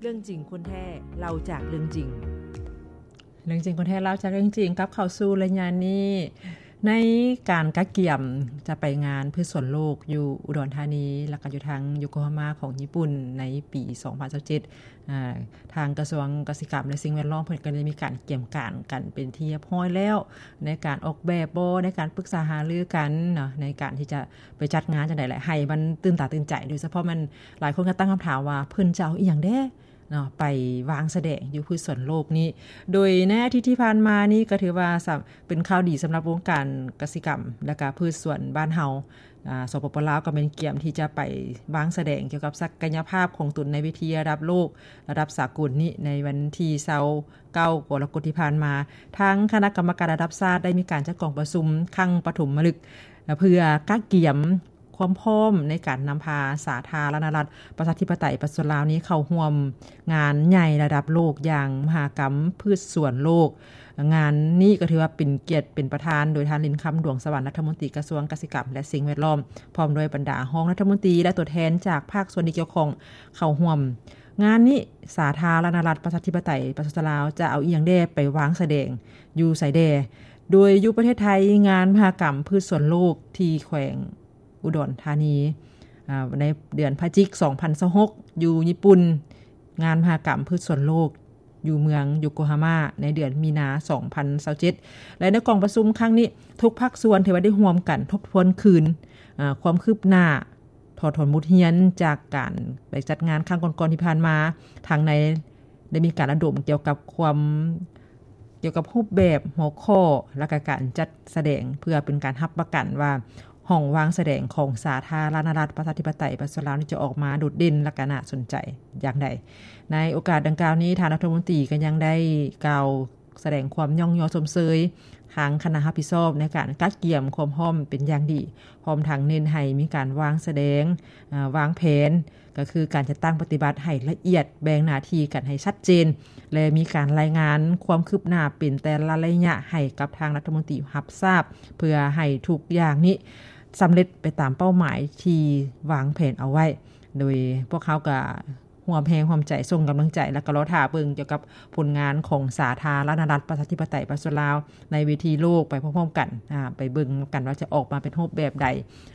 ເລື່ອງຈິງຄົນແທ້ ເລົ່າຈາກເລື່ອງຈິງ. ເລື່ອງຈິງຄົນແທ້ ເລົ່າຈາກເລື່ອງຈິງ ກັບເຂົ້າສູ່ໄລຍະນີ້ ໃນການກະກຽມຈະໄປງານພືດສວນໂລກຢູ່ອຸດອນທານີ ແລ້ວກໍຢູ່ທາງໂຍໂກຮາມາຂອງຍີ່ປຸ່ນ ໃນປີສອງພັນຊາວເຈັດ ອ່າ ທາງກະຊວງກະສິກຳ ແລະ ສິ່ງແວດລ້ອມ ເພິ່ນກໍໄດ້ມີການກຽມການກັນເປັນທີ່ຮຽບຮ້ອຍແລ້ວ ໃນການອອກແບບບໍ ໃນການປຶກສາຫາລືກັນເນາະ ໃນການທີ່ຈະໄປຈັດງານຈັ່ງໃດ ແລະ ໃຫ້ມັນຕື່ນຕາຕື່ນໃຈ. ໂດຍສະເພາະແມ່ນຫຼາຍຄົນກໍຕັ້ງຄຳຖາມວ່າ ເພິ່ນຈະເອົາອີ່ຫຍັງແດ່ເນາະ ໄປວາງສະແດງຢູ່ພືດສວນໂລກນີ້. ໂດຍໃນອາທິດທີ່ຜ່ານມານີ້ ກໍຖືວ່າສຳ ເປັນຂ່າວດີສຳລັບວົງການກະສິກຳ ແລະ ກະພືດສວນບ້ານເຮົາ ອາ ສປປ ລາວ ກໍແມ່ນກຽມທີ່ຈະໄປວາງສະແດງກ່ຽວກັບສັກກະຍະພາບຂອງຕົນໃນເວທີລະດັບໂລກ ລະດັບສາກົນນີ້ ໃນວັນທີຊາວເກົ້າ ກໍລະກົດທີ່ຜ່ານມາ. ທາງຄະນະກຳມະການລະດັບຊາດໄດ້ມີການຈັດກອງປະຊຸມຄັ້ງປະຖົມມະລຶກ ເພື່ອກະກຽມຄວາມພ້ອມໃນການນຳພາສາທາລະນະລັດ ປະຊາທິປະໄຕ ປະຊາຊົນລາວນີ້ ເຂົ້າຮ່ວມງານໃຫຍ່ລະດັບໂລກຢ່າງມະຫະກຳພືດສວນໂລກ. ງານນີ້ກໍຖືວ່າເປັນກຽດເປັນປະທານໂດຍທ່ານ ລິນຄຳ ດວງສະຫວັນ ລັດຖະມົນຕີກະຊວງກະສິກຳ ແລະ ສິ່ງແວດລ້ອມ ພ້ອມດ້ວຍບັນດາຮອງລັດຖະມົນຕີ ແລະ ຕົວແທນຈາກພາກສ່ວນທີ່ກ່ຽວຂ້ອງເຂົ້າຮ່ວມ. ງານນີ້ ສາທາລະນະລັດ ປະຊາທິປະໄຕ ປະຊາຊົນລາວ ຈະເອົາອີ່ຫຍັງແດ່ໄປວາງສະແດງ ຢູ່ໃສແດ່? ໂດຍຢູ່ປະເທດໄທ ງານມະຫະກຳພືດສວນໂລກທີ່ແຂວງ ອຸດອນທານີ ອາ ໃນເດືອນພະຈິກ ສອງພັນຊາວຫົກ ຢູ່ຍີ່ປຸ່ນ, ງານມະຫະກຳພືດສວນໂລກຢູ່ເມືອງໂຍໂກຮາມາ ໃນເດືອນມີນາ ສອງພັນຊາວເຈັດ ແລະ ໃນກອງປະຊຸມຄັ້ງນີ້ ທຸກພາກສ່ວນຖືວ່າໄດ້ຮ່ວມກັນທົບທວນຄືນ ອາ ຄວາມຄືບໜ້າ ຖອດຖອນບົດຮຽນຈາກການໄປຈັດງານຄັ້ງກ່ອນໆທີ່ຜ່ານມາ, ທັງໃນ ໄດ້ມີການລະດົມກ່ຽວກັບຄວາມ ກ່ຽວກັບຮູບແບບ, ຫົວຂໍ້ ແລະ ກະການຈັດສະແດງ ເພື່ອເປັນການຮັບປະກັນວ່າ ຫ້ອງວາງສະແດງຂອງສາທາລະນະລັດ ປະຊາທິປະໄຕ ປະຊາຊົນລາວນີ້ ຈະອອກມາໂດດເດັ່ນ ແລະ ກະໜ້າສົນໃຈຢ່າງໃດ. ໃນໂອກາດດັ່ງກ່າວນີ້, ທ່ານລັດຖະມົນຕີກໍຍັງໄດ້ກ່າວ ສະແດງຄວາມຍ້ອງຍໍຊົມເຊີຍທາງຄະນະຮັບຜິດຊອບໃນການກະກຽມຄວາມພ້ອມເປັນຢ່າງດີ, ພ້ອມທັງເນັ້ນໃຫ້ມີການວາງສະແດງ, ອາ, ວາງແຜນ, ກໍຄືການຈັດຕັ້ງປະຕິບັດໃຫ້ລະອຽດ, ແບ່ງໜ້າທີ່ກັນໃຫ້ຊັດເຈນ ແລະ ມີການລາຍງານຄວາມຄືບໜ້າເປັນແຕ່ລະໄລຍະໃຫ້ກັບທາງລັດຖະມົນຕີຮັບຊາບ, ເພື່ອໃຫ້ທຸກຢ່າງນີ້ສຳເລັດໄປຕາມເປົ້າໝາຍທີ່ວາງແຜນເອົາໄວ້. ໂດຍພວກເຮົາກໍ ຮ່ວມແຮງຮ່ວມໃຈ ສົ່ງກຳລັງໃຈ ແລ້ວກໍລໍຖ້າເບິ່ງກ່ຽວກັບຜົນງານຂອງສາທາລະນະລັດ ປະຊາທິປະໄຕ ປະຊາຊົນລາວ ໃນເວທີໂລກໄປພ້ອມໆກັນ, ອາ, ໄປເບິ່ງນຳກັນວ່າຈະອອກມາເປັນຮູບແບບໃດ.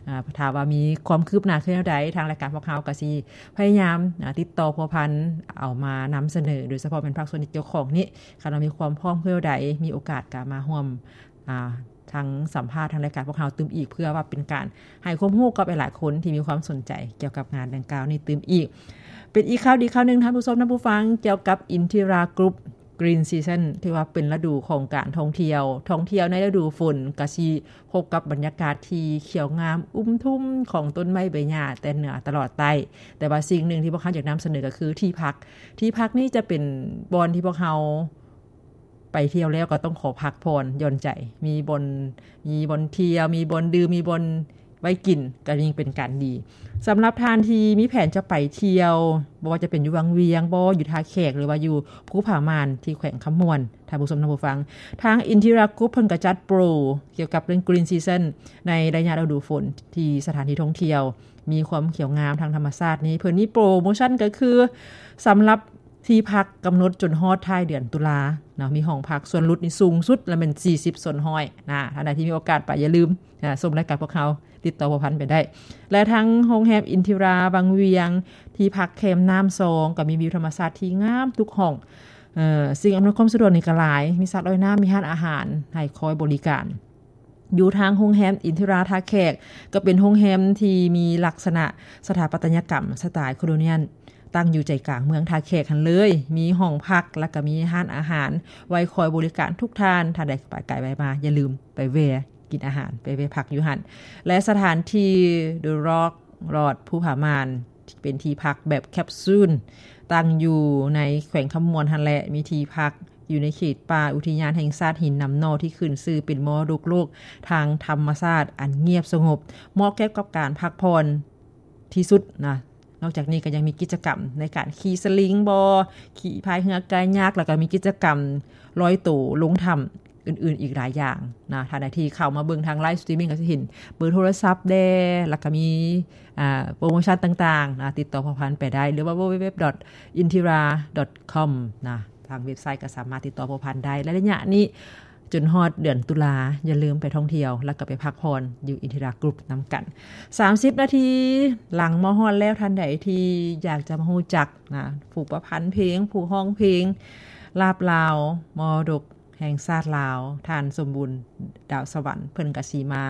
ອາ, ຖ້າວ່າມີຄວາມຄືບໜ້າຄືແນວໃດ, ທາງລາຍການພວກເຮົາກໍຊິພະຍາຍາມ, ອາ, ຕິດຕໍ່ພົວພັນ ເອົາມານຳສະເໜີ, ໂດຍສະເພາະແມ່ນພາກສ່ວນທີ່ກ່ຽວຂ້ອງນີ້, ຄັນວ່າມີຄວາມພ້ອມຄືແນວໃດ, ມີໂອກາດກໍມາຮ່ວມ ອາ, ທັງສຳພາດທາງລາຍການພວກເຮົາຕື່ມອີກ ເພື່ອວ່າເປັນການໃຫ້ຄວາມຮູ້ກັບຫຼາຍໆຄົນທີ່ມີຄວາມສົນໃຈກ່ຽວກັບງານດັ່ງກ່າວນີ້ຕື່ມອີກ. ເປັນອີກຂ່າວດີຂ່າວໜຶ່ງ ທ່ານຜູ້ຊົມທ່ານຜູ້ຟັງ, ກ່ຽວກັບ Inthira Group Green Season ຖືວ່າເປັນລະດູຂອງການທ່ອງທ່ຽວ. ທ່ອງທ່ຽວໃນລະດູຝົນກະຊິພົບກັບບັນຍາກາດທີ່ຂຽວງາມອຸ້ມທຸ່ມຂອງຕົ້ນໄມ້ໃບຫຍ້າແຕ່ເໜືອຕະຫຼອດໃຕ້. ແຕ່ວ່າສິ່ງໜຶ່ງທີ່ພວກເຮົາຢາກນຳສະເໜີກໍຄືທີ່ພັກ. ທີ່ພັກນີ້ຈະເປັນບ່ອນທີ່ພວກເຮົາ ໄປທ່ຽວແລ້ວກໍຕ້ອງຂໍພັກຜ່ອນຢ່ອນໃຈ, ມີບ່ອນ, ມີບ່ອນທ່ຽວ, ມີບ່ອນດື່ມ, ມີບ່ອນໄວ້ກິນ, ກໍຍິ່ງເປັນການດີ. ສຳລັບທ່ານທີ່ມີແຜນຈະໄປທ່ຽວ, ບໍ່ວ່າຈະເປັນຢູ່ວັງວຽງບໍ, ຢູ່ທ່າແຂກ ຫຼືວ່າຢູ່ພູຜາມ່ານ ທີ່ແຂວງຄຳມ່ວນ, ທ່ານຜູ້ຊົມທ່ານຜູ້ຟັງ, ທາງ Inthira Group ເພິ່ນກໍຈັດໂປຣກ່ຽວກັບເລື່ອງ Green Season ໃນໄລຍະລະດູຝົນ ທີ່ສະຖານທີ່ທ່ອງທ່ຽວມີຄວາມຂຽວງາມທາງທຳມະຊາດນີ້, ເພິ່ນມີໂປຣໂມຊັນກໍຄື ສຳລັບ ທີ່ພັກກຳນົດຈົນຮອດທ້າຍເດືອນຕຸລາເນາະ, ມີຫ້ອງພັກສ່ວນຫຼຸດນີ້ສູງສຸດລະແມ່ນສີ່ສິບສ່ວນຮ້ອຍນະ. ທ່ານໃດທີ່ມີໂອກາດໄປ ຢ່າລືມ ອາ, ຊົມລາຍການພວກເຮົາ, ຕິດຕໍ່ພົວພັນໄປໄດ້. ແລະ ທັງໂຮງແຮມ Inthira ວັງວຽງ, ທີ່ພັກແຄມນ້ຳຊອງ ກໍມີວິວທຳມະຊາດທີ່ງາມທຸກຫ້ອງ. ເອີ, ສິ່ງອຳນວຍຄວາມສະດວກນີ້ກໍຫຼາຍ, ມີສະລອຍນ້ຳ, ມີຮ້ານອາຫານໃຫ້ຄອຍບໍລິການ. ຢູ່ທາງໂຮງແຮມ Inthira ທ່າແຂກ ກໍເປັນໂຮງແຮມທີ່ມີລັກສະນະສະຖາປັດຕະຍະກຳສະໄຕໂຄໂລນຽນ ຕັ້ງຢູ່ໃຈກາງເມືອງທ່າແຂກຫັ້ນເລີຍ. ມີຫ້ອງພັກ ແລ້ວກໍມີຮ້ານອາຫານໄວ້ຄອຍບໍລິການທຸກທ່ານ. ທ່ານໃດໄປໄກໄປມາ ຢ່າລືມໄປແວ່ກິນອາຫານ, ໄປແວ່ພັກຢູ່ຫັ້ນ. ແລະ ສະຖານທີ່ The Rock Lodge ພູຜາມ່ານ ເປັນທີ່ພັກແບບແຄັບຊູນ ຕັ້ງຢູ່ໃນແຂວງຄຳມ່ວນຫັ້ນແຫຼະ, ມີທີ່ພັກຢູ່ໃນເຂດປ່າອຸທິຍານແຫ່ງຊາດຫີນນຳໜໍ່ ທີ່ຂຶ້ນຊື່ເປັນມໍລະດົກໂລກທາງທຳມະຊາດອັນງຽບສະຫງົບ, ເໝາະແກ່ກັບການພັກຜ່ອນທີ່ສຸດນະ. ນອກຈາກນີ້ກໍຍັງມີກິດຈະກຳໃນການຂີ່ສະລິງບໍ, ຂີ່ພາຍເຮືອກາຍັກ, ແລ້ວກໍມີກິດຈະກຳລອຍໂຕລົງຖ້ຳ ອື່ນໆອີກຫຼາຍຢ່າງນະ. ທ່ານໃດທີ່ເຂົ້າມາເບິ່ງທາງ live streaming ກໍຈະເຫັນເບີໂທລະສັບແດ່ ແລ້ວກໍມີ ອ່າ ໂປຣໂມຊັນຕ່າງໆນະ ຕິດຕໍ່ພົວພັນໄປໄດ້ ຫຼືວ່າ www.intira.com ນະ ທາງເວັບໄຊກໍສາມາດຕິດຕໍ່ພົວພັນໄດ້. ແລະ ໄລຍະນີ້ຈົນຮອດເດືອນຕຸລາ ຢ່າລືມໄປທ່ອງທ່ຽວ ແລ້ວກໍໄປພັກຜ່ອນຢູ່ Intira Group ນຳກັນ. ສາມສິບນາທີຫຼັງມາຮອດແລ້ວ, ທ່ານໃດທີ່ຢາກຈະມາຮູ້ຈັກນະ ຜູ້ປະພັນເພງ ຜູ້ຮ້ອງເພງ ລາບລາວ ມໍລະດົກແຫ່ງຊາດລາວ ທ່ານ ສົມບູນ ດາວສະຫວັນ ເພິ່ນກະຊິມາ